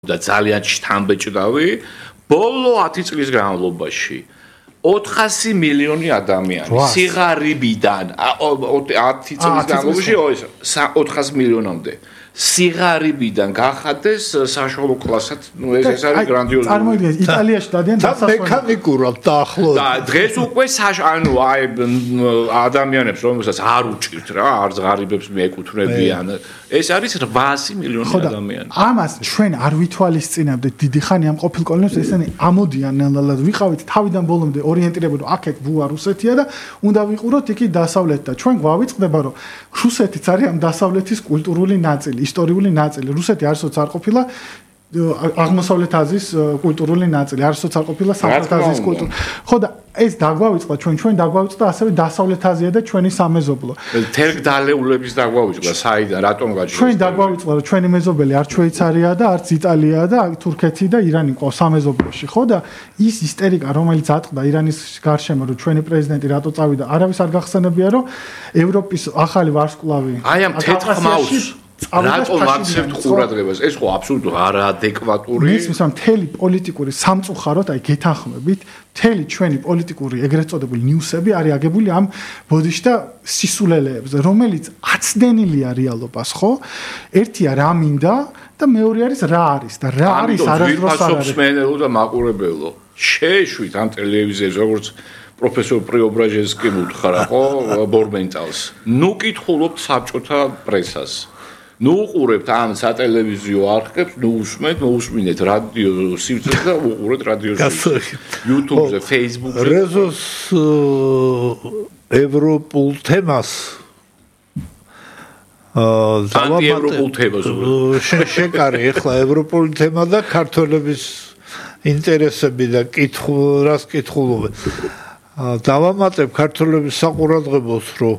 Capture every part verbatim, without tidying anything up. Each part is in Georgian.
და ძალიან შთამბეჭდავი ბოლო ათი წლის განმავლობაში ოთხასი მილიონი ადამიანი სიღარიბიდან ათი წლის განმავლობაში ოთხასი მილიონამდე სიღარიბიდან გახადეს საშუალო კლასად, ну ეს ეს არის გრანდიოზული. წარმოიდგინეთ, იტალიაში დადიან დასასვენებლად. მექანიკურად დაახლოებით. და დღეს უკვე ანუ აი ადამიანებს რომელსაც არ უჭირთ რა, არ ღარიბებს მიეკუთვნებიან. ეს არის რვაასი მილიონი ადამიანი. ამას ჩვენ არ ვითვალისწინებდით დიდი ხანი ამ ყოფილ კოლონიებს ესენი ამოდიან ნელ-ნელა ვიყავით თავიდან ბოლომდე ორიენტირებული აქეთ ბუა რუსეთია და უნდა ვიყუროთ იქი დასავლეთ და ჩვენ გვავიწყდება რომ რუსეთიც არის ამ დასავლეთის კულტურული ნაწილი ისტორიული ნაწილი. რუსეთი არასოდეს არ ყოფილა აღმოსავლეთ აზიის კულტურული ნაწილი, არასოდეს არ ყოფილა სამხრეთ აზიის კულტურა. ხო და ეს დაგვავიწყდა ჩვენ, ჩვენ დაგვავიწყდა ასევე დასავლეთ აზია და ჩვენი სამეზობლო. თერგდალეულების დაგვავიწყდა საიდან, რატომ გაჩვენეს? ჩვენ დაგვავიწყდა რომ ჩვენი მეზობელი არ შვეიცარია და არც იტალია და თურქეთი და ირანი ყავს სამეზობლოში, ხო და ის ისტერიკა რომელიც ატყდა ირანის გარშემო რომ ჩვენი პრეზიდენტი რატო წავიდა, არავის არ გახსენებია რომ ევროპის ახალი ვარსკვლავი აი ამ თეთრ ხმაურს რატომ აქცევთ ყურადღებას? ეს ხო აბსოლუტურად არაადეკვატური. მისმის ამ მთელი პოლიტიკური სამწუხაროდ, აი გეთანხმებით, მთელი ჩვენი პოლიტიკური ეგრეთ წოდებული ნიუსები არის აგებული ამ ბოდიში და სისულელეებზე, რომელიც აცდენილია რეალობას, ხო? ერთია რა მინდა და მეორე არის რა არის და რა არის არასდროს არ არის. მსმენელო და მაყურებელო. შეეშვით ამ ტელევიზიაზე როგორც პროფესორ პრიობრაჟენსკიმ უთხრა, ხო, ბორმენტალს. ნუ კითხულობთ საბჭოთა პრესას. ნუ უყურებთ ამ სატელევიზიო არხებს, ნუ უსმენთ, ნუ უსმინეთ რადიო სივრცეს და უყურეთ რადიო სივრცეს. YouTube-ზე, Facebook-ზე. რეზოს ევროპულ თემას აა ანტიევროპულ თემას შეკარი ახლა ევროპული თემა და ქართველების ინტერესები და კითხულ რას კითხულობენ. დავამატებ ქართველების საყურადღებოს, რომ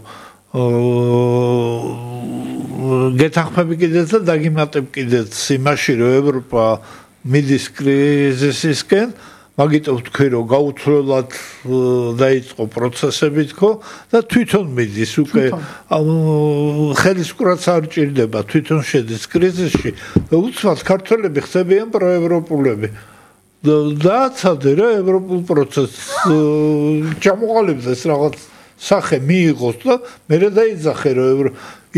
გეთანხმები კიდეც და დაგიმატებ კიდეც იმაში, რომ ევროპა მიდის კრიზისისკენ, მაგიტომ თქვი, რომ გაუთვლელად დაიწყო პროცესები თქო და თვითონ მიდის უკვე ხელისკურაც არ ჭირდება, თვითონ შედის კრიზისში და უცბად ქართველები ხდებიან პროევროპულები. დააცადე რა ევროპულ პროცესს ჩამოყალიბდეს რაღაც სახე მიიღოს და მერე დაიძახე რომ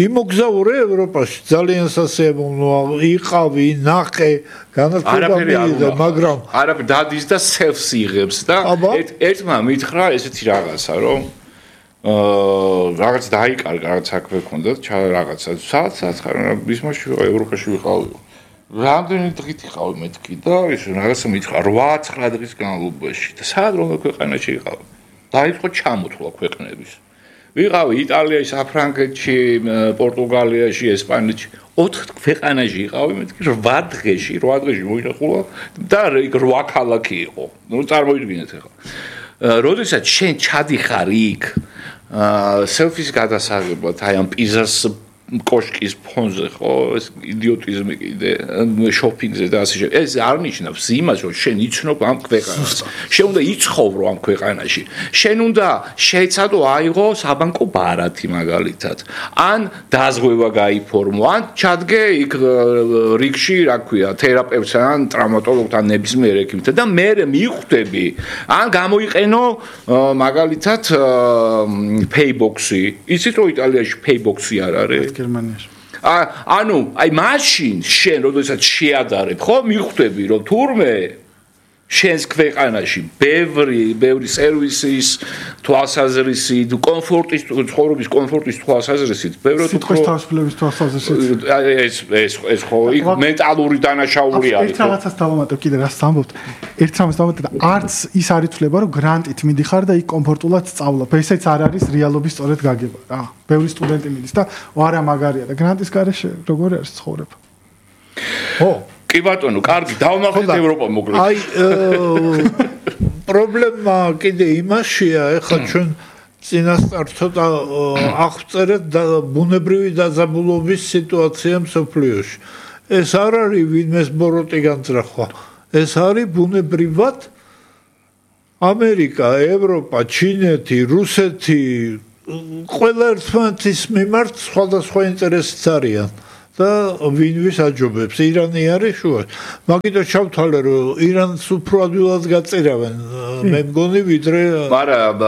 იმოგზაურე ევროპაში ძალიან სასიამოვნოა იყავი ნახე განათლება მიიღე მაგრამ არაფერ დადის და სელფს იღებს და ერთმა მითხრა ესეთი რაღაცა რომ აა რაღაც დაიკარგა რაღაც საქმე ქონდა რაღაცა სადაც სადაც ბისმაში ევროპაში ვიყავი რამდენი დღით იყავი მეთქი და ის რაღაცა მითხრა რვა ცხრა დღის განმავლობაში და სად რომელ ქვეყანაში იყავი დაიწყო ჩამოთვლა ქვეყნების. ვიყავი იტალიაში, საფრანგეთში, პორტუგალიაში, ესპანეთში, ოთხ ქვეყანაში იყავი, მეთქი რვა დღეში, რვა დღეში მოინახულა და იქ რვა ქალაქი იყო. ნუ წარმოიდგინეთ ახლა. როდესაც შენ ჩადიხარ იქ, სელფის გადასაღებად, აი ამ პიზას კოშკის ფონზე ხო ეს იდიოტიზმი კიდე შოპინგზე და ასე შემდეგ ეს არ ნიშნავს იმას რომ შენ იცნობ ამ ქვეყანას შენ უნდა იცხოვრო ამ ქვეყანაში შენ უნდა შეეცადო აიღო საბანკო ბარათი მაგალითად ან დაზღვევა გაიფორმო ან ჩადგე იქ რიგში რა ქვია თერაპევტთან ან ტრავმატოლოგთან ნებისმიერ ექიმთან და მე მიხვდები ან გამოიყენო მაგალითად Paybox-ი იცით რომ იტალიაში Paybox-ი არ არის გერმანიაში. ანუ, აი მაშინ შენ როდესაც შეადარებ, ხო, მიხვდები რომ თურმე შენს ქვეყანაში ბევრი, ბევრი სერვისის თვალსაზრისით, კომფორტის, ცხოვრების კომფორტის თვალსაზრისით, ბევრი სიტყვის თავისუფლების თვალსაზრისით. ეს ეს ეს ხო იქ მენტალური დანაშაული არის. ერთ რაღაცას დავამატებ კიდე რას ამბობთ. ერთ რამას დავამატებ და არც ის არ ითვლება რომ გრანტით მიდიხარ და იქ კომფორტულად სწავლობ. ესეც არ არის რეალობის სწორედ გაგება რა. ბევრი სტუდენტი მიდის და არა მაგარია და გრანტის გარეშე როგორ არის ცხოვრება. ხო კი ბატონო, კარგი, დავმახეთ ევროპა მოკლედ. აი პრობლემა კიდე იმაშია, ეხლა ჩვენ წინასწარ ცოტა აღწერეთ ბუნებრივი დაძაბულობის სიტუაცია მსოფლიოში. ეს არ არის ვინმეს ბოროტი განძრახვა. ეს არის ბუნებრივად ამერიკა, ევროპა, ჩინეთი, რუსეთი ყველა ერთმანეთის მიმართ სხვადასხვა ინტერესიც არიან. და ვინვის აჯობებს ირანი არის შუა. მაგიტომ ჩავთვალე რომ ირანს უფრო ადვილად გაწირავენ მე მგონი ვიდრე მაგრამ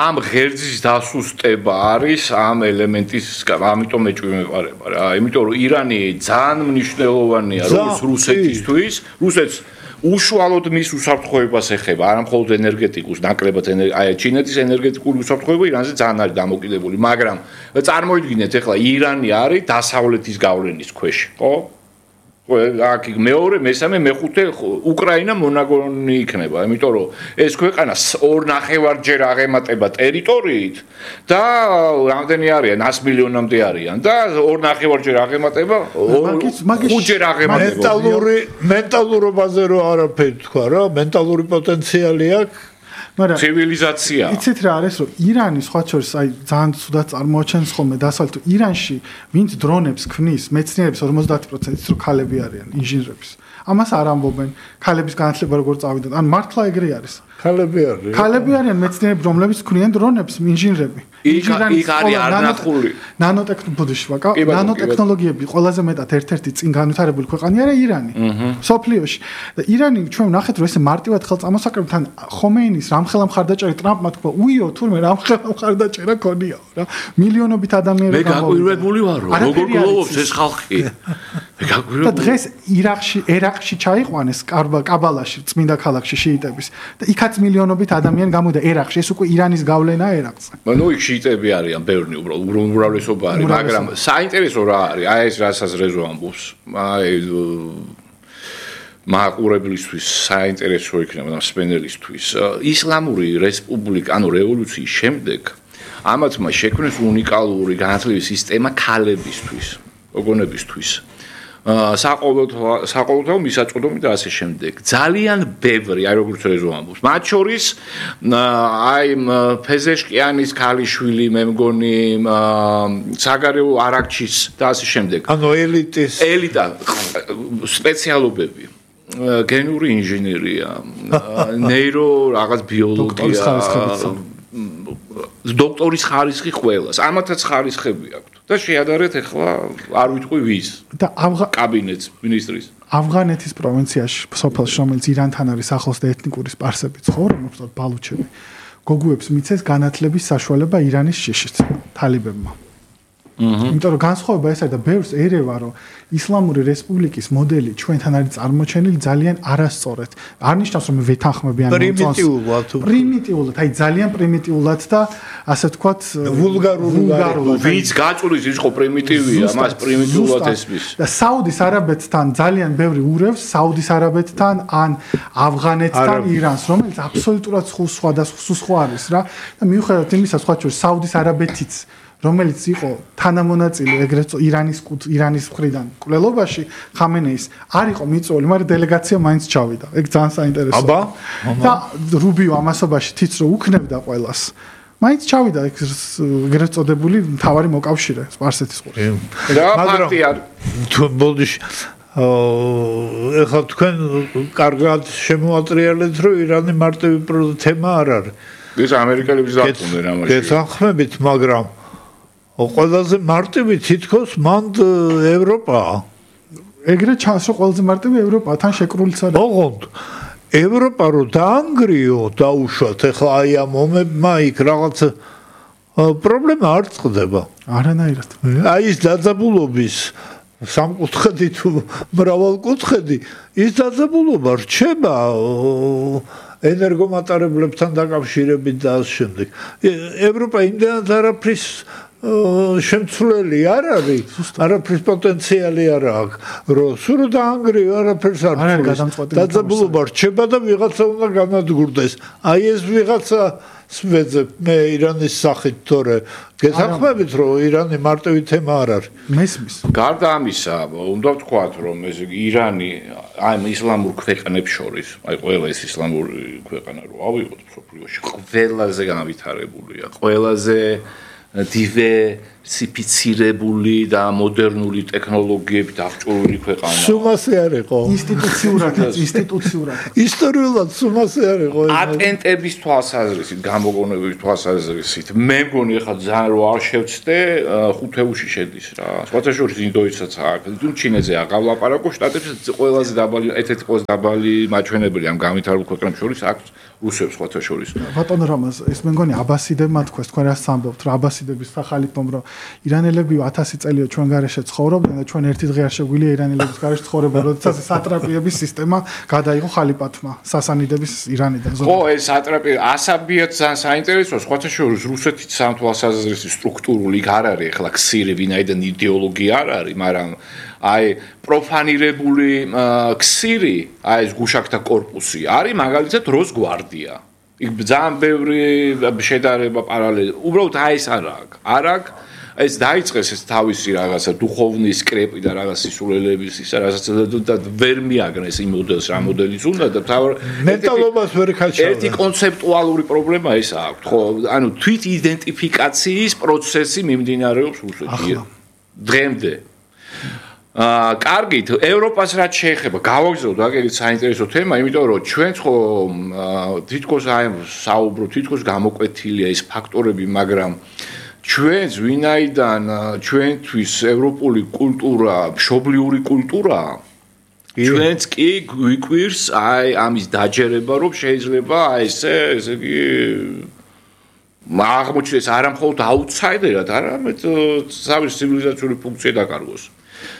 ამ ღერძის დასუსტება არის ამ ელემენტის ამიტომ მეჭვი მეყარება რა იმიტომ რომ ირანი ძალიან მნიშვნელოვანია როგორც რუსეთისთვის რუსეთს უშუალოდ მის უსაფრთხოებას ეხება არა მხოლოდ ენერგეტიკოს ნაკლებად აი ჩინეთის ენერგეტიკული უსაფრთხოება ირანზე ძალიან არის დამოკიდებული მაგრამ წარმოიდგინეთ ახლა ირანი არის დასავლეთის გავლენის ქვეშ ხო აქ მეორე მესამე მეხუთე უკრაინა მონაგონი იქნება იმიტომ რომ ეს ქვეყანა ორ ნახევარჯერ აღემატება ტერიტორიით და რამდენი არიან ას მილიონამდე არიან და ორ ნახევარჯერ აღემატება ხუთჯერ აღემატება მენტალური მენტალურობაზე რო არაფერი თქვა რა მენტალური პოტენციალი აქვს მაგრამ ცივილიზაცია იცით რა არის რომ ირანი სხვა შორის აი ძალიან ცუდად წარმოაჩენს ხოლმე დასავლეთ ირანში ვინც დრონებს ქმნის მეცნიერების ორმოცდაათი პროცენტი ის რომ ქალები არიან ინჟინრების ამას არ ამბობენ ქალების განათლება როგორ წავიდათ ან მართლა ეგრე არის ქალები არიან ქალები არიან მეცნიერები რომლებიც ქმნიან დრონებს ინჟინრები იქ იქ არის არნახული ნანოტექნოლოგიები ნანოტექნოლოგიები ყველაზე მეტად ერთ-ერთი წინ განვითარებული ქვეყანია რა ირანი სოფლიოში და ირანი ჩვენ ვნახეთ რომ ესე მარტივად ხელწამოსაკრებთან ხომეინის რამხელა მხარდაჭერა ტრამპმა თქვა უიო თურმე რამხელა მხარდაჭერა ქონიაო რა მილიონობით ადამიანები მე გაკვირვებული ვარ რომ როგორ გლოვობს ეს ხალხი მე გაკვირვებული და დღეს ირაყში ერაყში ჩაიყვანეს კაბალაში წმინდა ქალაქში შიიტების და იქაც მილიონობით ადამიანი გამოდა ერაყში ეს უკვე ირანის გავლენაა ერაყზე ну იქ შიიტები არიან ბევრი უბრალოდ უმრავლესობა არის მაგრამ საინტერესო რა არის აი ეს რასაც რეზო ამბობს აი მაყურებლისთვის საინტერესო იქნება სპენელისთვის ისლამური რესპუბლიკა ანუ რევოლუციის შემდეგ ამათმა შექმნეს უნიკალური განათლების სისტემა ქალებისთვის გოგონებისთვის საყოველთაო საყოველთაო მისაწვდომი და ასე შემდეგ ძალიან ბევრი აი როგორც რეზო ამბობს მათ შორის აი ფეზეშკიანის ქალიშვილი მე მგონი საგარეო არაქჩის და ასე შემდეგ ანუ ელიტის ელიტა სპეციალობები გენური ინჟინერია ნეირო რაღაც ბიოლოგია დოქტორის ხარისხი ყველას ამათაც ხარისხები აქვს და შეადარეთ ახლა არ ვიტყვი ვის და კაბინეტს მინისტრის ავღანეთის პროვინციაში სოფელში რომელიც ირანთან არის ახლოს და ეთნიკური სპარსები ცხოვრობს ბალუჩები გოგუებს მიცეს განათლების საშუალება ირანის შიშით თალებებმა იმიტომ რომ განსხვავება ეს არის და ბევრს ერევა რომ ისლამური რესპუბლიკის მოდელი ჩვენთან არის წარმოჩენილი ძალიან არასწორად არ ნიშნავს რომ ვეთანხმებიან პრიმიტიულად პრიმიტიულად აი ძალიან პრიმიტიულად და ასე ვთქვათ ვულგარულად ვინც გაწულის ის ხო პრიმიტივია მას პრიმიტიულად ესმის და საუდის არაბეთთან ძალიან ბევრი ურევს საუდის არაბეთთან ან ავღანეთთან ირანს რომელიც აბსოლუტურად სხვა და სხვა არის რა და მიუხედავად იმისა სხვა შორის საუდის არაბეთიც რომელიც იყო თანამონაწილე ეგრეთ ირანის ირანის მხრიდან კვლელობაში ხამენეის არ იყო მიწვეული, მაგრამ დელეგაცია მაინც ჩავიდა. ეგ ძალიან საინტერესოა. აბა, და რუბიო ამასობაში თიც რო უქნებდა ყველას. მაინც ჩავიდა ეგრეთ წოდებული მთავარი მოკავშირე სპარსეთის ყურს. რა ფაქტი არის? თუ ბოდიში ეხლა თქვენ კარგად შემოატრიალეთ, რომ ირანი მარტივი თემა არ არის. ეს ამერიკელების დათმობენ ამაში. გესახმებით, მაგრამ ყველაზე მარტივი თითქოს მანდ ევროპაა. ეგრე ჩანს რომ ყველაზე მარტივი ევროპაა, თან შეკრულიც არის. ოღონდ ევროპა რო დაანგრიო დაუშვათ, ახლა აი ამ ომებმა იქ რაღაც პრობლემა არ წყდება. არანაირად. აი ეს დაძაბულობის სამკუთხედი თუ მრავალკუთხედი, ის დაძაბულობა რჩება ენერგომატარებლებთან დაკავშირებით და ამ შემდეგ. ევროპა იმდენად არაფრის შემცვლელი არ არის, არაფრის პოტენციალი არ აქვს, რომ სულ დაანგრიო არაფერს არ არის. დაძაბულობა რჩება და ვიღაცა უნდა განადგურდეს. აი ეს ვიღაცა სვეძებ მე ირანის სახით თორე გესახმებით რომ ირანი მარტივი თემა არ არის. მესმის. გარდა ამისა, უნდა ვთქვათ რომ ეს ირანი აი ისლამურ ქვეყნებს შორის, აი ყველა ეს ისლამური ქვეყანა რო ავიღოთ მსოფლიოში, ყველაზე განვითარებულია, ყველაზე სიფიცირებული და მოდერნული ტექნოლოგიებით აღჭურვილი ქვეყანა. სუმასე არ იყო. ინსტიტუციურადაც, ინსტიტუციურად. ისტორიულად სუმასე არ იყო. პატენტების თვალსაზრისით, გამოგონების თვალსაზრისით, მე მგონი ახლა ძალიან რო არ შევცდე, ხუთეულში შედის რა. სხვათა შორის ინდოეთსაც აქვს, თუ ჩინეთზე აღავლაპარაკო, შტატებში ყველაზე დაბალი, ერთ-ერთი ყველაზე დაბალი მაჩვენებელი ამ განვითარებულ ქვეყნებს შორის აქვს რუსებს სხვათა შორის. ბატონ რამაზ, ეს მე მგონი აბასიდებმა თქვეს, თქვენ რას ამბობთ, რა აბასიდების სახალიფომ, რომ ირანელები ათასი წელია ჩვენ გარეშე ცხოვრობდნენ და ჩვენ ერთი დღე არ შეგვიძლია ირანელების გარეშე ცხოვრება, როდესაც სატრაპიების სისტემა გადაიღო ხალიფატმა, სასანიდების ირანიდან. ხო, ეს სატრაპი ასაბიათ ძალიან საინტერესოა, სხვათა შორის რუსეთის სამთვალსაზრისით სტრუქტურული არ არის, ახლა ქსირი ვინაიდან იდეოლოგია არ არის, მაგრამ აი პროფანირებული ქსირი, აი ეს გუშაკთა корпуსი არის მაგალითად როს გვარდია. იქ ძალიან ბევრი შედარება პარალელი. უბრალოდ აი ეს არ აქვს. არ აქვს ეს დაიწყეს ეს თავისი რაღაცა დუხოვნის სკრეპი და რაღაც სისულელების ისა რასაც და ვერ მიაგნეს იმ მოდელს რა მოდელის უნდა და თავ მენტალობას ვერ ხაჩავდა. ერთი კონცეპტუალური პრობლემა ეს აქვს, ხო, ანუ თვით იდენტიფიკაციის პროცესი მიმდინარეობს რუსეთში. დღემდე აა კარგით, ევროპას რაც შეეხება, გავაგზავნოთ აგერით საინტერესო თემა, იმიტომ რომ ჩვენ ხო თითქოს აი საუბრობთ, თითქოს გამოკვეთილია ეს ფაქტორები, მაგრამ ჩვენს ვინაიდან ჩვენთვის ევროპული კულტურა, მშობლიური კულტურა, ჩვენც კი გვიკვირს აი ამის დაჯერება, რომ შეიძლება აი ესე, ესე იგი აღმოჩნდეს არა მხოლოდ აუთსაიდერად, არამედ თავის ცივილიზაციური ფუნქცია დაკარგოს.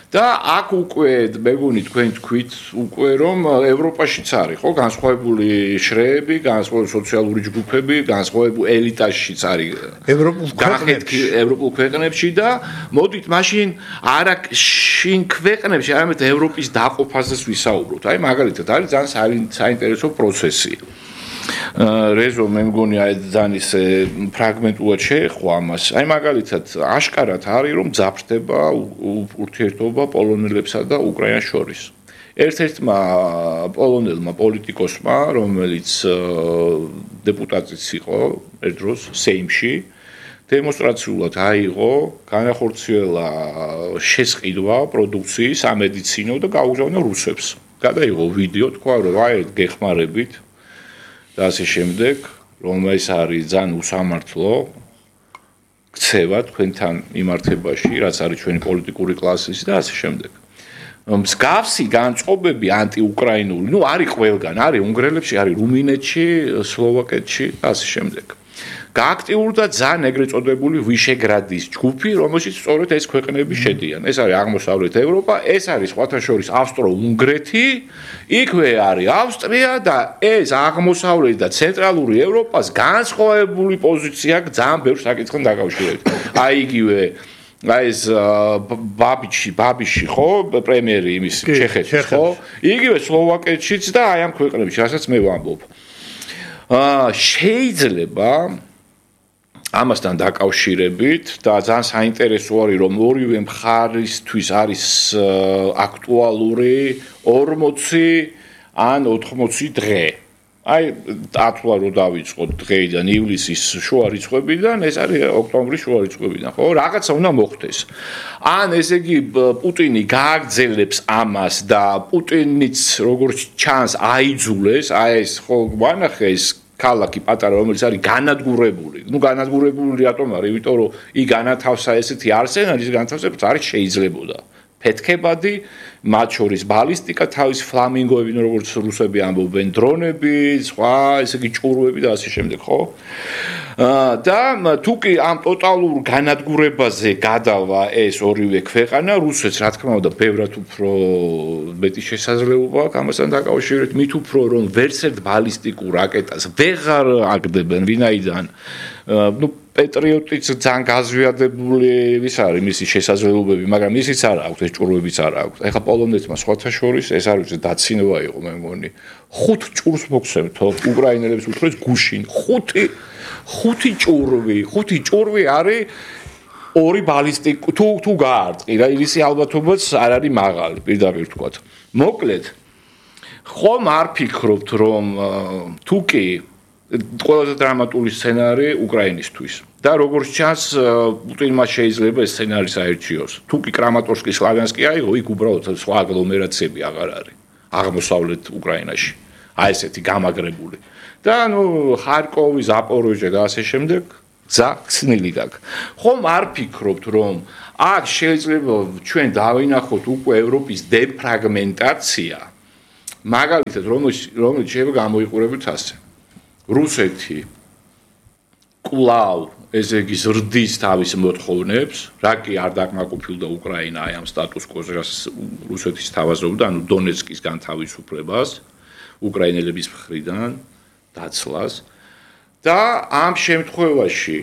და აქ უკვე მეგონი თქვენ თქვით უკვე რომ ევროპაშიც არის ხო განსხვავებული შრეები, განსხვავებული სოციალური ჯგუფები, განსხვავებული ელიტაშიც არის ევროპულ ქვეყნებში, ევროპულ ქვეყნებში და მოდით მაშინ არა შინ ქვეყნებში, არამედ ევროპის დაყოფაზეც ვისაუბროთ. აი მაგალითად არის ძალიან საინტერესო პროცესი. რეზო მე მგონი აი ძალიან ისე ფრაგმენტულად შეეხო ამას. აი მაგალითად აშკარად არის რომ ძაფრდება ურთიერთობა პოლონელებსა და უკრაინას შორის. ერთ-ერთმა პოლონელმა პოლიტიკოსმა, რომელიც დეპუტატიც იყო ერთ დროს სეიმში, დემონსტრაციულად აიღო განახორციელა შესყიდვა პროდუქციის ამედიცინო და გაუგზავნა რუსებს. გადაიღო ვიდეო, თქვა რომ აი გეხმარებით და ასე შემდეგ, რომ ეს არის ძალიან უსამართლო ქცევა თქვენთან მიმართებაში, რაც არის ჩვენი პოლიტიკური კლასის და ასე შემდეგ. მსგავსი განწყობები ანტიუკრაინული, ну არის ყველგან, არის უნგრელებში, არის რუმინეთში, სლოვაკეთში და ასე შემდეგ. გააქტიურდა ძალიან ეგრეთ წოდებული ვიშეგრადის ჯგუფი, რომელშიც სწორედ ეს ქვეყნები შედიან. ეს არის აღმოსავლეთ ევროპა, ეს არის სხვათა შორის ავსტრო-უნგრეთი, იქვე არის ავსტრია და ეს აღმოსავლეთ და ცენტრალური ევროპას განსხვავებული პოზიცია აქვს ძალიან ბევრ საკითხთან დაკავშირებით. აი იგივე აი ეს ბაბიჩი, ბაბიში ხო, პრემიერი იმის ჩეხეთის ხო? იგივე სლოვაკეთშიც და აი ამ ქვეყნებში, რასაც მე ვამბობ. აა შეიძლება ამასთან დაკავშირებით და ძალიან საინტერესო არის რომ ორივე მხარისთვის არის აქტუალური ორმოცი ან ოთხმოცი დღე. აი დათვლა რო დავიწყოთ დღეიდან ივლისის შუა რიცხვებიდან, ეს არის ოქტომბრის შუა რიცხვებიდან, ხო? რაღაცა უნდა მოხდეს. ან ესე იგი პუტინი გააგრძელებს ამას და პუტინიც როგორც ჩანს აიძულეს, აი ეს ხო ვანახეს ქალაქი პატარა, რომელიც არის განადგურებული. ნუ განადგურებული რატომ არის? იმიტომ რომ იქ განათავსა ესეთი არსენალის განთავსებაც არის შეიძლებოდა. ფეთქებადი, მათ შორის ბალისტიკა, თავის ფლამინგოები, როგორც რუსები ამბობენ, დრონები, სხვა, ესე იგი ჭურვები და ასე შემდეგ, ხო? და თუ კი ამ ტოტალურ განადგურებაზე გადავა ეს ორივე ქვეყანა, რუსეთს რა თქმა უნდა, ბევრად უფრო მეტი შესაძლებლობა აქვს ამასთან დაკავშირებით, მით უფრო რომ ვერცერთ ბალისტიკურ რაკეტას ვეღარ აგდებენ, ვინაიდან ну პეტრიოტიც ძალიან გაზვიადებული ის არის მისი შესაძლებლობები, მაგრამ ისიც არ აქვს, ეს ჭურვებიც არ აქვს. ეხლა პოლონეთმა სხვათა შორის ეს არის დაცინვა იყო, მე მგონი. ხუთ ჭურს მოგცემთო, უკრაინელებს უთხრეს გუშინ. ხუთი ხუთი ჭურვი, ხუთი ჭურვი არის ორი ბალისტიკი თუ თუ გაარტყი რა, ისი ალბათობაც არ არის მაღალი, პირდაპირ ვთქვათ. მოკლედ ხომ არ ფიქრობთ რომ თუ კი ყველაზე დრამატული სცენარი უკრაინისთვის. და როგორც ჩანს, პუტინმა შეიძლება ეს სცენარი საერთიოს. თუ კი კრამატორსკი, სლავიანსკი აიღო, იქ უბრალოდ სხვა აგლომერაციები აღარ არის აღმოსავლეთ უკრაინაში. აი ესეთი გამაგრებული. და ნუ ხარკოვი, ზაპოროჟე და ასე შემდეგ გზა ხსნილი გაქვს. ხომ არ ფიქრობთ, რომ აქ შეიძლება ჩვენ დავინახოთ უკვე ევროპის დეფრაგმენტაცია, მაგალითად, რომელიც რომელიც შეიძლება გამოიყურებოთ ასე. რუსეთი კვლავ ესე იგი ზრდის თავის მოთხოვნებს, რა კი არ დაკმაყოფილდა უკრაინა აი ამ სტატუს კვოს, რაც რუსეთის თავაზობდა, ანუ დონეცკის განთავისუფლებას უკრაინელების მხრიდან დაცლას და ამ შემთხვევაში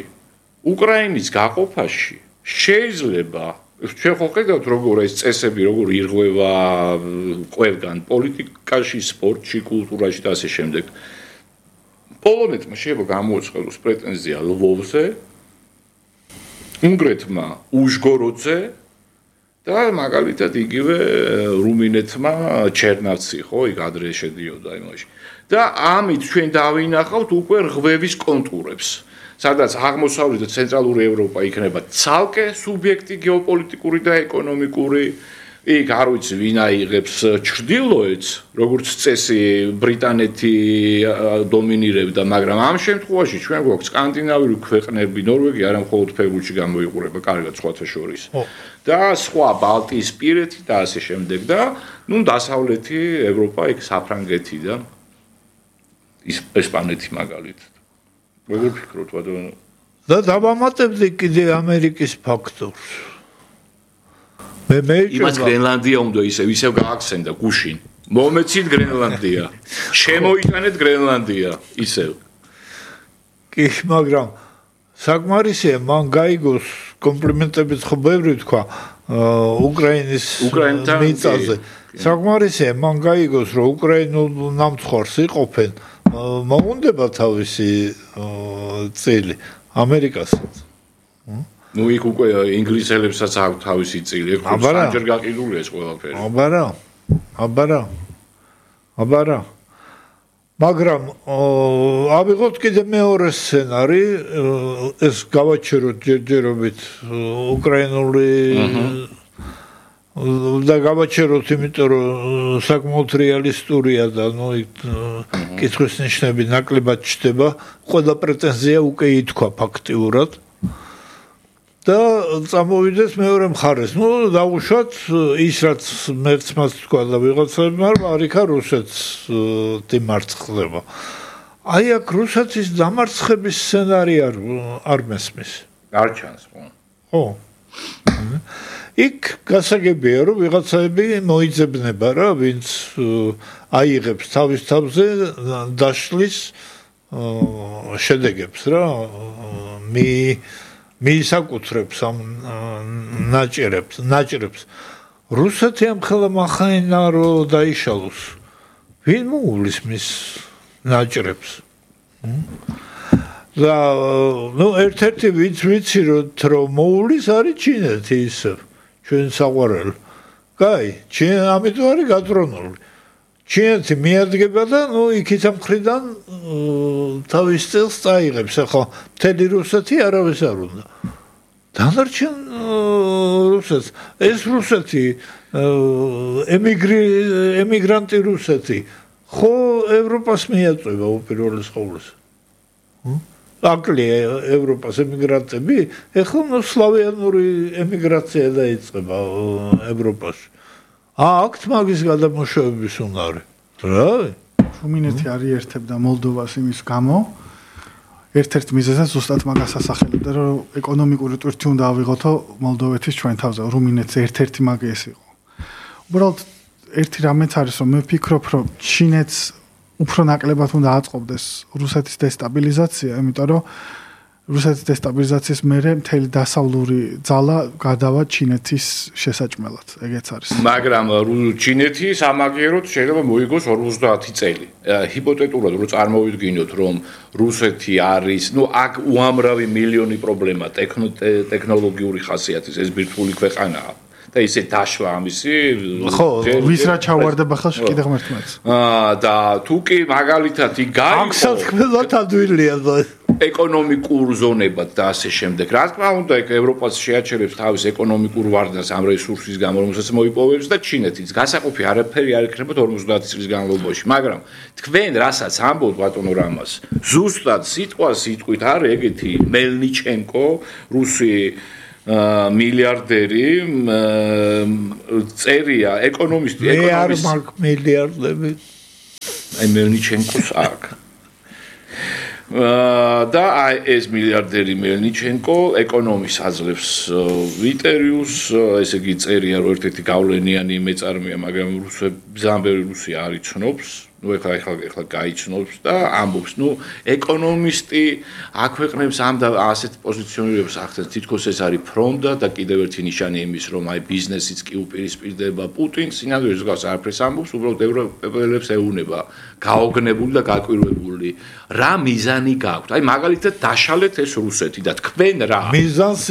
უკრაინის გაყოფაში შეიძლება ჩვენ ხო ხედავთ როგორ ეს წესები როგორ ირღვევა ყველგან პოლიტიკაში, სპორტში, კულტურაში და ასე შემდეგ. პოლონეთმა შეიძლება გამოუწყოს პრეტენზია ლვოვზე, უნგრეთმა უშგოროდზე და მაგალითად იგივე რუმინეთმა ჩერნავცი, ხო, იქ ადრე შედიოდა იმაში. და ამით ჩვენ დავინახავთ უკვე რღვევის კონტურებს, სადაც აღმოსავლეთ და ცენტრალური ევროპა იქნება ცალკე სუბიექტი გეოპოლიტიკური და ეკონომიკური. იქ არ ვიცი ვინ აიღებს ჩრდილოეთს, როგორც წესი ბრიტანეთი დომინირებდა, მაგრამ ამ შემთხვევაში ჩვენ გვაქვს სკანდინავიური ქვეყნები, ნორვეგია არა მხოლოდ ფეხბურთში გამოიყურება, კარგად სხვათა შორის. და სხვა ბალტიისპირეთი და ასე შემდეგ და ნუ დასავლეთი ევროპა იქ საფრანგეთი და ესპანეთი მაგალითად. როგორ ფიქრობთ, ბატონო? და დავამატებდი კიდე ამერიკის ფაქტორს. მე მე იმას გრენლანდია უნდა ისევ ისევ გააქცენდა გუშინ. მომეცით გრენლანდია. შემოიტანეთ გრენლანდია ისევ. კი, მაგრამ საკმარისია მან გაიგოს კომპლიმენტებიც ხო ბევრი თქვა უკრაინის მიწაზე. საკმარისია მან გაიგოს რომ უკრაინულ ნამცხვარს იყოფენ, მოუნდება თავისი წილი ამერიკასაც. ნუ იქ უკვე ინგლისელებსაც აქვს თავისი წილი, ეგ სამჯერ გაყიდულია ეს ყველაფერი. აბარა. აბარა. აბარა. მაგრამ ავიღოთ კიდე მეორე სცენარი, ეს გავაჩეროთ ჯერჯერობით უკრაინული და გავაჩეროთ, იმიტომ რომ საკმაოდ რეალისტურია და ნუ კითხვის ნიშნები ნაკლებად ჩდება, ყველა პრეტენზია უკვე ითქვა ფაქტიურად. და წამოვიდეს მეორე მხარეს. ნუ დაუშვათ ის რაც მეც მას თქვა და ვიღაცებმა არ იქა რუსეთს დიმარცხება. აი აქ რუსეთის დამარცხების სცენარი არ არ მესმის. არ ჩანს ხო? ხო. იქ გასაგებია რომ ვიღაცები მოიძებნება რა, ვინც აიღებს თავის თავზე დაშლის შედეგებს რა. მი მიისაკუთრებს ამ ნაჭერებს, ნაჭრებს. რუსეთი ამ ხელა მახაინა რომ დაიშალოს. ვინ მოუვლის მის ნაჭრებს? და ნუ ერთ-ერთი ვინც ვიცი რომ მოუვლის არის ჩინეთი ისევ, ჩვენ საყვარელი. კაი, ჩინეთი ამიტომ არის გაწრონული. ჩინეთი მიადგება და ნუ იქით ამ მხრიდან თავის წელს წაიღებს. ახლა მთელი რუსეთი არავის არ უნდა. დანარჩენ რუსეთს, ეს რუსეთი ემიგრი ემიგრანტი რუსეთი ხო ევროპას მიაწვევა უპირველეს ყოვლისა. აკლია ევროპას ემიგრანტები, ეხლა ნუ სლავიანური ემიგრაცია დაიწყება ევროპაში. აქვთ მაგის გადამოშვების უნარი. რავი, რუმინეთი არიერთებდა მოლდოვას იმის გამო, ერთ-ერთ მიზეზად ზუსტად მაგას ასახელებდა, რომ ეკონომიკური ტვირთი უნდა ავიღოთო მოლდოვეთის ჩვენ თავზე, რუმინეთს ერთ-ერთი მაგი ეს იყო. უბრალოდ ერთი რამეც არის, რომ მე ვფიქრობ, რომ ჩინეთს უფრო ნაკლებად უნდა აწყობდეს რუსეთის დესტაბილიზაცია, იმიტომ რომ რუსეთის დესტაბილიზაციის მერე მთელი დასავლური ძალა გადავა ჩინეთის შესაჭმელად, ეგეც არის. მაგრამ ჩინეთი სამაგიეროდ შეიძლება მოიგოს ორმოცდაათი წელი. ჰიპოთეტურად რო წარმოვიდგინოთ, რომ რუსეთი არის, ნუ აქ უამრავი მილიონი პრობლემა, ტექნოლოგიური ხასიათის, ეს ბირთვული ქვეყანაა. და ისე დაშლა ამისი ხო ვის რა ჩავარდება ხელში კიდე ღმერთმაც აა და თუ კი მაგალითად იქ გაიყო ამ საქმეზე თადვილია ეკონომიკურ ზონებად და ასე შემდეგ. რა თქმა უნდა, ეგ ევროპას შეაჩერებს თავის ეკონომიკურ ვარდნას ამ რესურსის გამო, რომელსაც მოიპოვებს და ჩინეთიც. გასაყოფი არაფერი არ იქნება ორმოცდაათი წლის განმავლობაში, მაგრამ თქვენ რასაც ამბობთ ბატონო რამას, ზუსტად სიტყვა სიტყვით არის ეგეთი მელნიჩენკო, რუსი მილიარდერი წერია ეკონომისტი, ეკონომისტი. მე არ მაქვს მილიარდები. აი მელნიჩენკოს აქვს. და აი ეს მილიარდერი მელნიჩენკო ეკონომის აძლევს ვიტერიუს, ესე იგი წერია რომ ერთ-ერთი გავლენიანი მეწარმეა, მაგრამ რუსები ზამბერი რუსი არ იცნობს, ну ეხლა ეხლა ეხლა გაიცნობს და ამბობს, ну ეკონომისტი აქვეყნებს ამ და ასეთ პოზიციონირებს ახდენს, თითქოს ეს არის ფრონტა და კიდევ ერთი ნიშანი იმის, რომ აი ბიზნესიც კი უპირისპირდება პუტინს, სინამდვილეში გავს არაფერს ამბობს, უბრალოდ ევროპელებს ეუნება გაოგნებული და გაკვირვებული რა მიზანი გაქვთ. აი მაგალითად დაშალეთ ეს რუსეთი და თქვენ რა მიზანს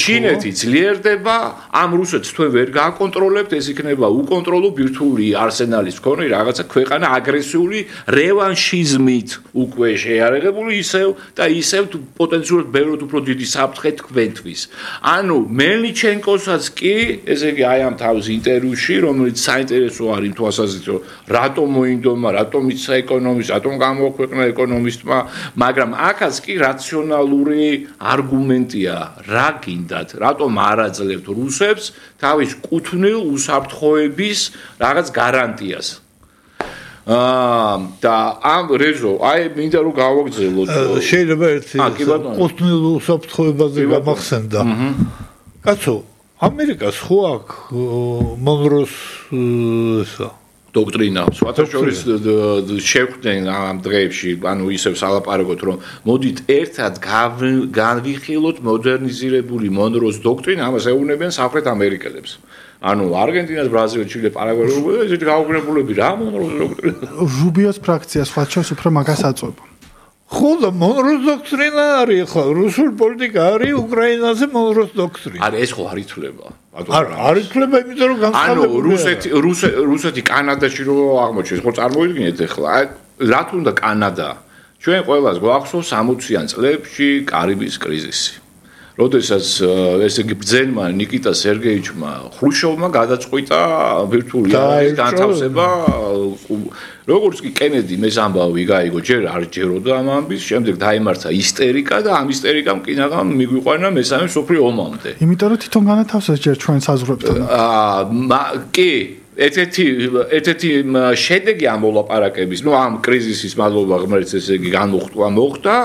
ჩინეთი ძლიერდება, ამ რუსეთს თქვენ ვერ გააკონტროლებთ, ეს იქნება უკონტროლო ბირთვული არსენალის მქონე რაღაცა ქვეყანა აგრესიული რევანშიზმით უკვე შეარაღებული ისევ და ისევ პოტენციურად ბევრად უფრო დიდი საფრთხე თქვენთვის. ანუ მელნიჩენკოსაც კი, ესე იგი აი ამ თავის ინტერვიუში, რომელიც საინტერესო არის იმ თვალსაზრისით, რომ რატომ მოინდომა, რატომ იცა ეკონომისტს, რატომ გამოაქვეყნა ეკონომისტმა, მაგრამ აქაც კი რაციონალური არგუმენტია, რა გინდათ, რატომ არ აძლევთ რუსებს თავის კუთვნილ უსაფრთხოების რაღაც გარანტიას. აა და ამ რეზო, აი მინდა რომ გავაგრძელოთ. შეიძლება ერთი კუთვნილ უსაფრთხოებაზე გამახსენდა. კაცო, ამერიკას ხო აქვს მონროს ესა დოქტრინა, სხვათა შორის შევხვდნენ ამ დღეებში, ანუ ისევ სალაპარაკოთ, რომ მოდით ერთად განვიხილოთ მოდერნიზირებული მონროს დოქტრინა, ამას ეუბნებიან სამხრეთ ამერიკელებს. ანუ არგენტინას, ბრაზილია, ჩილე, პარაგვაი, ესეთი გაუგნებულები რა მონროს დოქტრინა. რუბიოს ფრაქცია სხვათა შორის უფრო მაგას აწვება. ხო და მონროს დოქტრინა არის ხო, რუსული პოლიტიკა არის უკრაინაზე მონროს დოქტრინა. არა, ეს ხო არ ითვლება. არ არ ითვლება, იმიტომ რომ განსხვავებული. ანუ რუსეთი, რუსეთი კანადაში რო აღმოჩნდეს, ხო წარმოიდგინეთ ახლა, რა თქმა უნდა კანადა. ჩვენ ყველას გვახსოვს სამოციან წლებში კარიბის კრიზისი. როდესაც ესე იგი ბრძენმა ნიკიტა სერგეიჩმა ხრუშოვმა გადაწყვიტა ბირთვული არის განთავსება, როგორც კი კენედი მეს ამბავი გაიგო, ჯერ არ ჯეროდა ამ ამბის, შემდეგ დაემართა ისტერიკა და ამ ისტერიკამ კინაღამ მიგვიყვანა მესამე მსოფლიო ომამდე. იმიტომ რომ თვითონ განათავსეს ჯერ ჩვენ საზღვრებთან. აა კი ერთ-ერთი ერთ-ერთი შედეგი ამ მოლაპარაკების, ну ამ კრიზისის მადლობა ღმერთს ესე იგი განმოხტვა მოხდა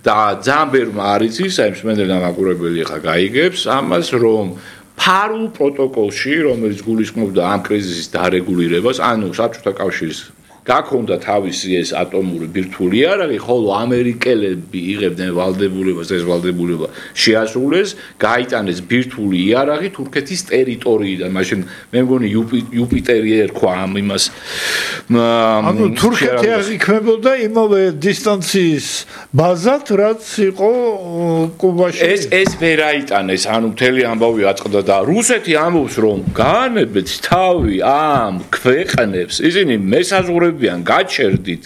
და ძალიან ბევრმა არ იცის, აი მსმენელი და მაყურებელი ხა გაიგებს ამას, რომ ფარულ პროტოკოლში, რომელიც გულისხმობდა ამ კრიზისის დარეგულირებას, ანუ საბჭოთა კავშირის გაქონდა თავისი ეს ატომური ბირთვული იარაღი, ხოლო ამერიკელები იღებდნენ ვალდებულებას, ეს ვალდებულება შეასრულეს, გაიტანეს ბირთვული იარაღი თურქეთის ტერიტორიიდან. მაშინ მე მგონი იუპიტერი ერქვა ამ იმას. ანუ თურქეთი აღიქმებოდა იმავე დისტანციის ბაზად, რაც იყო კუბაში. ეს ეს ვერ აიტანეს, ანუ მთელი ამბავი აწყდა და რუსეთი ამბობს, რომ გაანებეთ თავი ამ ქვეყნებს, ისინი მესაზღვრებიან გაჩერდით.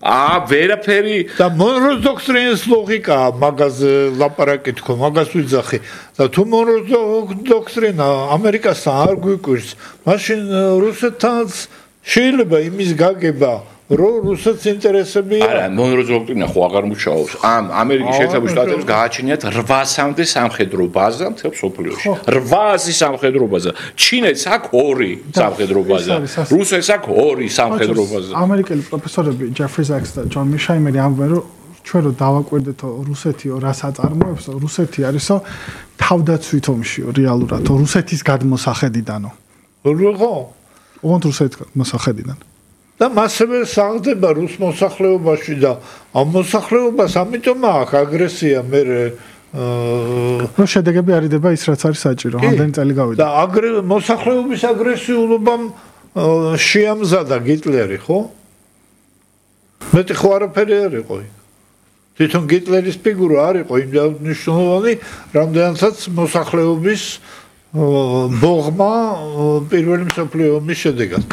აა ვერაფერი და მონროს დოქტრინის ლოგიკა მაგაზე ლაპარაკი თქო, მაგას ვიძახი. და თუ მონროს დოქტრინა ამერიკასთან არ გვიკვირს, მაშინ რუსეთთანაც შეიძლება იმის გაგება, რომ რუსეთს ინტერესები არა, მონროს დოქტრინა ხო აღარ მუშაობს. ამ ამერიკის შეერთებულ შტატებს გააჩნიათ რვასამდე სამხედრო ბაზა მთელ მსოფლიოში. რვასი სამხედრო ბაზა. ჩინეთს აქვს ორი სამხედრო ბაზა. რუსეთს აქვს ორი სამხედრო ბაზა. ამერიკელი პროფესორები ჯეფრი ზაქს და ჯონ მიშაიმერი ამბობენ, რომ ჩვენ რო დავაკვირდეთო რუსეთი რას აწარმოებს, რუსეთი არისო თავდაცვით ომშიო რეალურად, რუსეთის გადმოსახედიდანო. როგორ? ოღონდ რუსეთის მოსახედიდან. და მასევე საღდება რუს მოსახლეობაში და ამ მოსახლეობას ამიტომ აქვს აგრესია მე ნუ შედეგები არიდება ის რაც არის საჭირო, ამდენი წელი გავიდა. და მოსახლეობის აგრესიულობამ შეამზადა გიტლერი, ხო? მეტი ხო არაფერი არ იყო. თვითონ გიტლერის ფიგურა არ იყო იმდენად მნიშვნელოვანი, რამდენადაც მოსახლეობის ბოღმა პირველი მსოფლიო ომის შედეგად.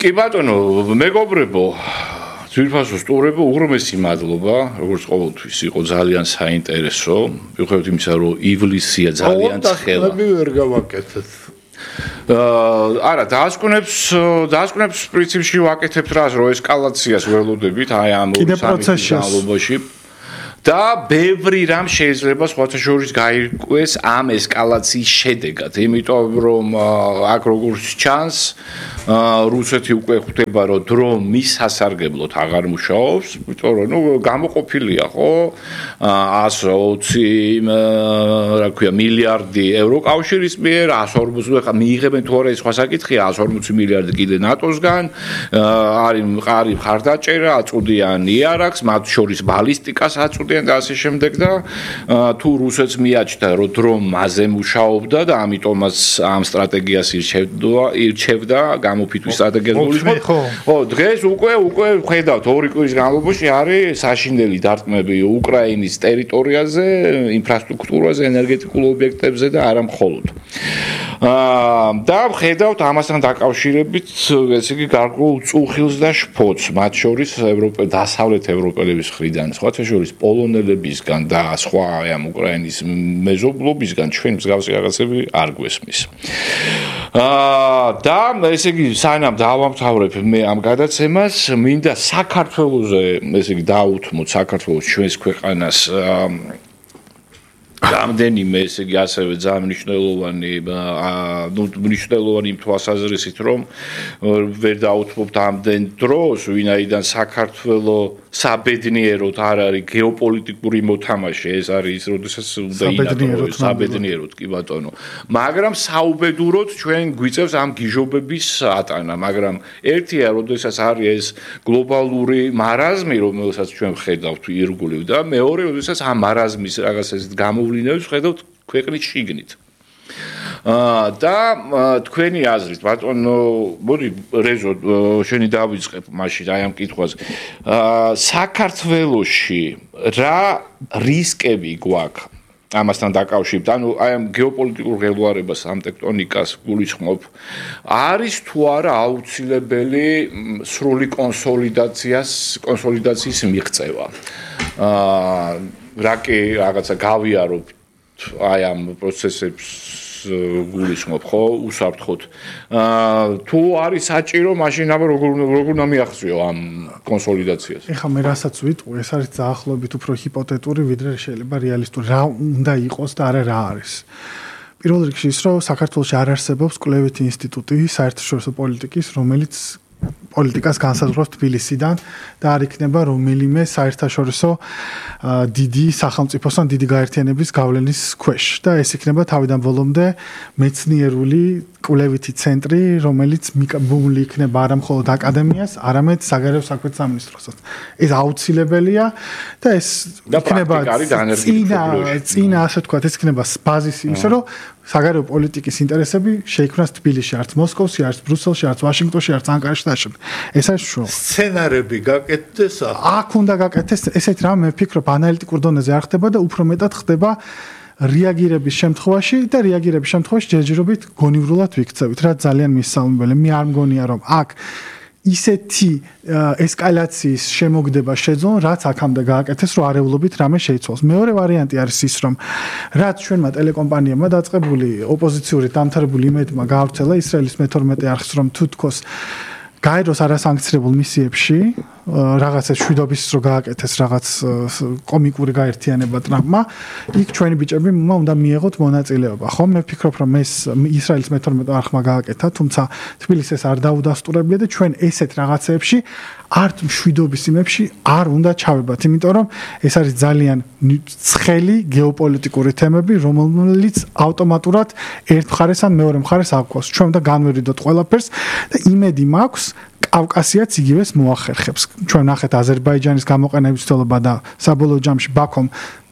კი ბატონო, მეგობრებო, ძვირფასო სტუმრებო, უღრმესი მადლობა, როგორც ყოველთვის იყო ძალიან საინტერესო. მიუხედავად იმისა, რომ ივლისია ძალიან ცხელა. მე ვერ გავაკეთებ. არა, დაასკვნებს, დაასკვნებს პრინციპში ვაკეთებთ რას, რომ ესკალაციას ველოდებით, აი ამ სამი განმავლობაში. და ბევრი რამ შეიძლება სხვათა შორის გაირკვეს ამ ესკალაციის შედეგად, იმიტომ რომ აქ როგორც ჩანს, რუსეთი უკვე ხვდება, რომ დრო მის სასარგებლოდ აღარ მუშაობს, იმიტომ რომ ნუ გამოყოფილია, ხო? εκατს ოცი რა ქვია, მილიარდი ევროკავშირის მიერ, εκατს ორმოცი ხა მიიღებენ თუ არა, სხვა საკითხია, εκατს ორმოცი მილიარდი კიდე ნატოსგან, არის მყარი მხარდაჭერა, აწუდიან იარაქს, მათ შორის ბალისტიკას აწუდიან და ასე შემდეგ და თუ რუსეთს მიაჩნდა, რომ დრო მასზე მუშაობდა და ამიტომაც ამ სტრატეგიას ირჩევდა, ირჩევდა გამოფიტვის სტრატეგიას გულისხმობ. ხო, დღეს უკვე უკვე ხედავთ ორი კვირის განმავლობაში არის საშინელი დარტყმები უკრაინის ტერიტორიაზე, ინფრასტრუქტურაზე, ენერგეტიკულ ობიექტებზე და არა მხოლოდ. აა და ხედავთ ამასთან დაკავშირებით, ესე იგი, გარკვეულ წუხილს და შფოთს, მათ შორის ევროპა დასავლეთ ევროპელების მხრიდან, სხვათა შორის პოლონელებისგან და სხვა ამ უკრაინის მეზობლობისგან ჩვენ მსგავსი რაღაცები არ გვესმის. აა და ესე იგი, სანამ დავამთავრებ მე ამ გადაცემას, მინდა საქართველოზე, ესე იგი, დაუთმოთ საქართველოს ჩვენს ქვეყანას რამდენიმე, ესე იგი, ასევე ძალიან მნიშვნელოვანი, ნუ მნიშვნელოვანი იმ თვალსაზრისით, რომ ვერ დაუთმობთ ამდენ დროს, ვინაიდან საქართველოს საბედნიეროდ არ არის გეოპოლიტიკური მოთამაშე, ეს არის ის, როდესაც უნდა ინახოს საბედნიეროდ, კი ბატონო. მაგრამ საუბედუროდ ჩვენ გვიწევს ამ გიჟობების ატანა, მაგრამ ერთია, როდესაც არის ეს გლობალური მარაზმი, რომელსაც ჩვენ ხედავთ ირგვლივ და მეორე, როდესაც ამ მარაზმის რაღაც ეს გამოვლინებს ხედავთ ქვეყნის შიგნით. აა და თქვენი აზრით, ბატონო, მოდი რეზო, შენი დავიწყებ მაშინ აი ამ კითხვაზე. აა საქართველოში რა რისკები გვაქვს ამასთან დაკავშირებით? ანუ აი ამ გეოპოლიტიკურ ღელვარებას, ამ ტექტონიკას გულისხმობ, არის თუ არა აუცილებელი სრული კონსოლიდაციას, კონსოლიდაციის მიღწევა? აა რა კი რაღაცა გავიაროთ აი ამ პროცესებს გულისხმობ, ხო, უსაფრთხოდ. აა თუ არის საჭირო, მაშინ აბა როგორ როგორ უნდა მიახციო ამ კონსოლიდაციას? ეხლა მე რასაც ვიტყვი, ეს არის დაახლოებით უფრო ჰიპოთეტური, ვიდრე შეიძლება რეალისტური. რა უნდა იყოს და არა რა არის. პირველ რიგში ის, რომ საქართველოში არ არსებობს კვლევითი ინსტიტუტი საერთაშორისო პოლიტიკის, რომელიც პოლიტიკას განსაზღვრავს თბილისიდან და არ იქნება რომელიმე საერთაშორისო დიდი სახელმწიფოსთან დიდი გაერთიანების გავლენის ქვეშ და ეს იქნება თავიდან ბოლომდე მეცნიერული კვლევითი ცენტრი, რომელიც მიკაბული იქნება არა მხოლოდ აკადემიას, არამედ საგარეო საქმეთა სამინისტროსაც. ეს აუცილებელია და ეს იქნება წინა წინა ასე ვთქვათ, ეს იქნება ბაზისი იმისა, რომ საგარეო პოლიტიკის ინტერესები შეიქმნას თბილისში, არც მოსკოვში, არც ბრიუსელში, არც ვაშინგტონში, არც ანკარაში და შემდეგ. ეს არის შუა. სცენარები გაკეთდეს აქ უნდა გაკეთდეს ესეთ რამ, მე ვფიქრობ, ანალიტიკურ დონეზე არ ხდება და უფრო მეტად ხდება რეაგირების შემთხვევაში და რეაგირების შემთხვევაში ჯერჯერობით გონივრულად ვიქცევით, რაც ძალიან მისალმებელი. მე არ მგონია, რომ აქ ისეთი ესკალაციის შემოგდება შეძონ, რაც აქამდე გააკეთეს, რომ არეულობით რამე შეიცვალოს. მეორე ვარიანტი არის ის, რომ რაც ჩვენმა ტელეკომპანიებმა დაწყებული ოპოზიციური დამთავრებული იმედმა გაავრცელა ისრაელის მეთორმეტე არხს, რომ თუ თქოს გაეროს არასანქცირებულ მისიებში რაღაცა შვიდობის რო გააკეთეს რაღაც კომიკური გაერთიანება ტრამპმა, იქ ჩვენი ბიჭები უნდა მიიღოთ მონაწილეობა. ხო, მე ვფიქრობ, რომ ეს ისრაელის მეთორმეტე არხმა გააკეთა, თუმცა თბილისს ეს არ დაუდასტურებია და ჩვენ ესეთ რაღაცეებში არც მშვიდობის იმებში არ უნდა ჩავებათ, იმიტომ რომ ეს არის ძალიან ცხელი გეოპოლიტიკური თემები, რომელიც ავტომატურად ერთ მხარეს ან მეორე მხარეს აღკვას. ჩვენ უნდა განვერიდოთ ყველაფერს და იმედი მაქვს კავკასიაც იგივეს მოახერხებს. ჩვენ ნახეთ აზერბაიჯანის გამოყენების ცდელობა და საბოლოო ჯამში ბაქომ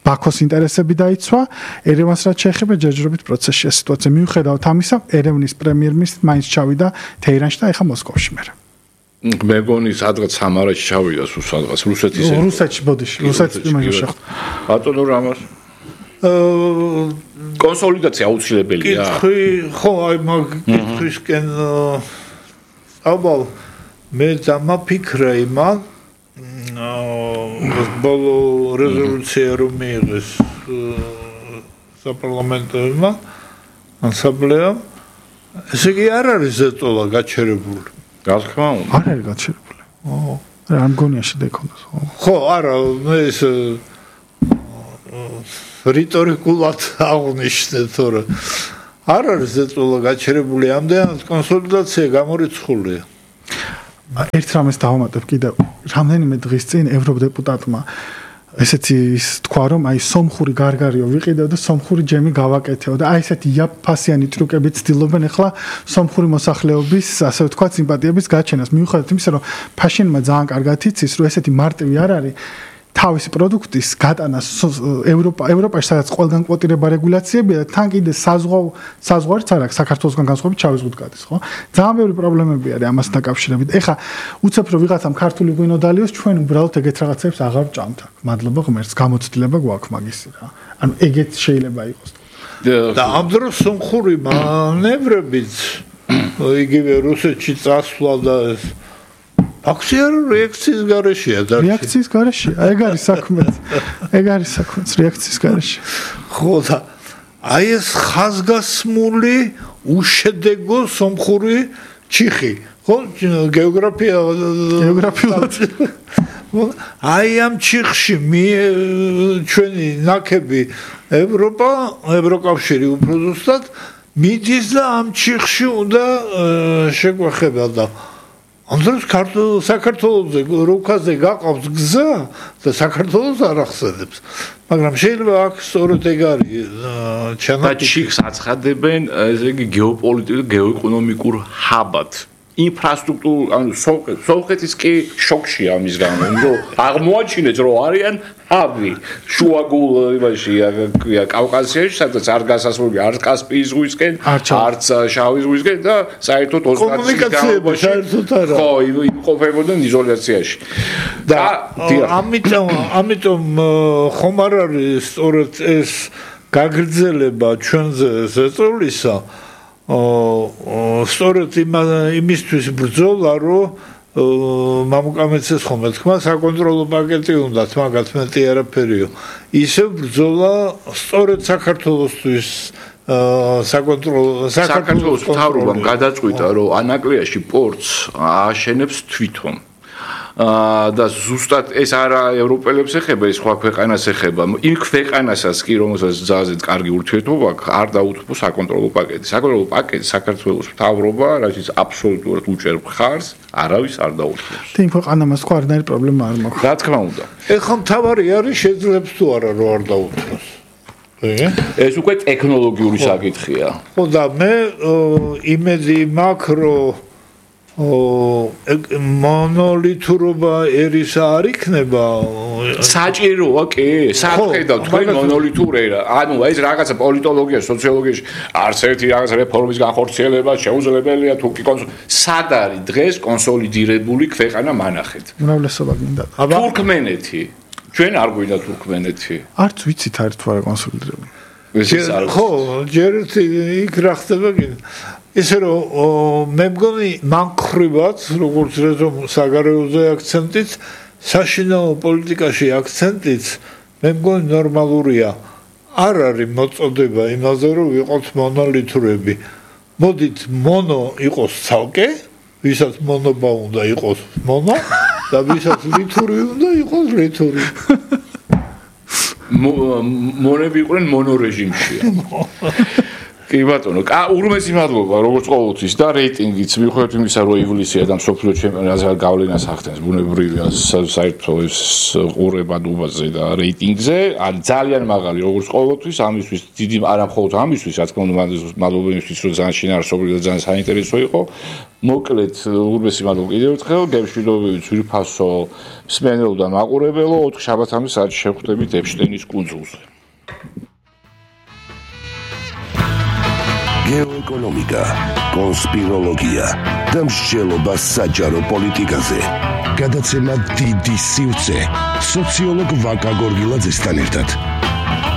ბაქოს ინტერესები დაიცვა, ერევანს რაც შეეხება ჯერჯერობით პროცესშია სიტუაცია. მიუხედავად ამისა, ერევნის პრემიერ-მინისტრი მაინც ჩავიდა თეირანში და ეხა მოსკოვში მერე. მე მგონი სადღაც სამარაში ჩავიდა სულ სადღაც რუსეთის რუსეთში ბოდიში, რუსეთის იმაში შეხვდა. ბატონო რამას კონსოლიდაცია აუცილებელია. კითხი, ხო, აი მაგ კითხვისკენ აბა მე დამაფიქრე იმან აა ბოლო რეზოლუცია რომ მიიღეს საპარლამენტოებმა ასამბლეამ ესე იგი არ არის ზეწოლა გაჩერებული. რა თქმა უნდა. არ არის გაჩერებული. ო, რა მგონია შედექონდას. ხო, არა, მე ეს რიტორიკულად აღნიშნე თორე არ არის ზეწოლა გაჩერებული, ამდენად კონსოლიდაცია გამორიცხულია. ერთ რამეს დავამატებ კიდევ რამდენიმე დღის წინ ევროდეპუტატმა ესეთი თქვა რომ აი სომხური გარგარიო ვიყიდეო და სომხური ჯემი გავაკეთეო და აი ესეთი იაფფასიანი ტრუკები ცდილობენ ახლა სომხური მოსახლეობის ასე ვთქვათ სიმპათიების გაჩენას მიუხედავად იმისა რომ ფაშინმა ძალიან კარგად იცის რომ ესეთი მარტივი არ არის თავისი პროდუქტის გატანა ევროპა ევროპაში სადაც ყველგან კვოტირება რეგულაციებია და თან კიდე საზღვაო საზღვარიც არ აქვს საქართველოსგან განსხვავებით შავი ზღვით გადის ხო ძალიან ბევრი პრობლემები არის ამასთან დაკავშირებით ეხა უცებ რომ ვიღაცამ ქართული ღვინო დალიოს ჩვენ უბრალოდ ეგეთ რაღაცებს აღარ ვჭამთ აქ მადლობა ღმერთს გამოცდილება გვაქვს მაგისი რა ანუ ეგეთ შეიძლება იყოს და ამ დროს სომხური მანევრებიც იგივე რუსეთში წასვლა და აქცია რეაქციის გარეშეა და რეაქციის გარეშე ეგ არის საქმე ეგ არის საქმე რეაქციის გარეშე ხო და აი ეს ხაზგასმული უშედეგო სომხური ჩიხი ხო გეოგრაფია გეოგრაფიულად აი ამ ჩიხში მე ჩვენი ნაკები ევროპა ევროკავშირი უფრო ზუსტად მიდის და ამ ჩიხში უნდა შეგვეხება და ამ დროს საქართველოზე რუკაზე გაყავს გზა და საქართველოს არ ახსენებს მაგრამ შეიძლება აქ სწორედ ეგ არის ჩანაფიქრი და ჩიხს აცხადებენ ესე იგი გეოპოლიტიკურ გეოეკონომიკურ ჰაბად ინფრასტრუქტურულ ანუ სომხეთის კი შოქშია ამის გამო რომ აღმოაჩინეთ რომ არიან ჰაბი შუაგულ იმაში კავკასიაში სადაც არ გასასვლელი არ კასპიის ზღვისკენ არც შავი ზღვისკენ და საერთოდ ოცდაათი წლის განმავლობაში ხო იმყოფებოდნენ იზოლაციაში და ამიტომ ამიტომ ხომ არ არის სწორედ ეს გაგრძელება ჩვენზე ზეწოლისა სწორედ იმისთვის ბრძოლა რომ მამუკამეცეს ხომ თქვა საკონტროლო პაკეტი უნდათ მაგათ მეტი არაფერიო ისევ ბრძოლა სწორედ საქართველოსთვის საკონტროლო საქართველოს მთავრობამ გადაწყვიტა რომ ანაკლიაში პორტს ააშენებს თვითონ და ზუსტად ეს არა ევროპელებს ეხება, ეს სხვა ქვეყანას ეხება. იმ ქვეყანასაც კი რომელსაც ძალზედ კარგი ურთიერთობა აქვს, არ დაუთმო საკონტროლო პაკეტი. საკონტროლო პაკეტი საქართველოს მთავრობა, რასაც აბსოლუტურად უჭერს ხარს, არავის არ დაუთმობს. იმ ქვეყანამაც სხვა არანაირი პრობლემა არ მაქვს. რა თქმა უნდა. ეხლა მთავარი არის შეძლებს თუ არა რომ არ დაუთმოს. ეს უკვე ტექნოლოგიური საკითხია. ხო და მე იმედი მაქვს რომ მონოლითურობა ერისა არ იქნება საჭიროა კი სახედავ თქვენ მონოლითურერა ანუ ეს რაღაცა პოლიტოლოგიაში სოციოლოგიაში არც ერთი რაღაც რეფორმის განხორციელება შეუძლებელია თუ კი სად არის დღეს კონსოლიდირებული ქვეყანა მანახეთ უმრავლესობა გინდა თურქმენეთი ჩვენ არ გვინდა თურქმენეთი არც ვიცით არის თუ არა კონსოლიდირებული ხო ჯერ იქ რა ხდება გინდა ისე რომ მე მგონი მანქრივად როგორც რეზომ საგარეოზე აქცენტიც საშინაო პოლიტიკაში აქცენტიც მე მგონი ნორმალურია არ არის მოწოდება იმაზე რომ ვიყოთ მონოლითურები მოდით მონო იყოს ცალკე ვისაც მონობა უნდა იყოს მონო და ვისაც ლითური უნდა იყოს ლითური მონები იყვნენ მონორეჟიმში კი ბატონო, ურმესი მადლობა როგორც ყოველთვის და რეიტინგიც მიუხედავად იმისა რომ ივლისია და მსოფლიო ჩემპიონატზე გავლენას ახდენს ბუნებრივია საერთო ეს ყურებადობაზე და რეიტინგზე, არის ძალიან მაღალი როგორც ყოველთვის, ამისთვის დიდი არა მხოლოდ ამისთვის, რა თქმა უნდა, მადლობა იმისთვის რომ ძალიან შინაარსობრივი და ძალიან საინტერესო იყო. მოკლედ ურმესი მადლობა კიდევ ერთხელ, გემშვიდობებით, ძვირფასო, მსმენელო და მაყურებელო, ოთხ შაბათამდე საათში შევხვდებით ეპშტეინის კუნძულზე. გეოეკონომიკა, კონსპიროლოგია და მსჯელობა საჯარო პოლიტიკაზე. გადაცემა დიდი სივრცე სოციოლოგ ვაკა გორგილაძესთან ერთად.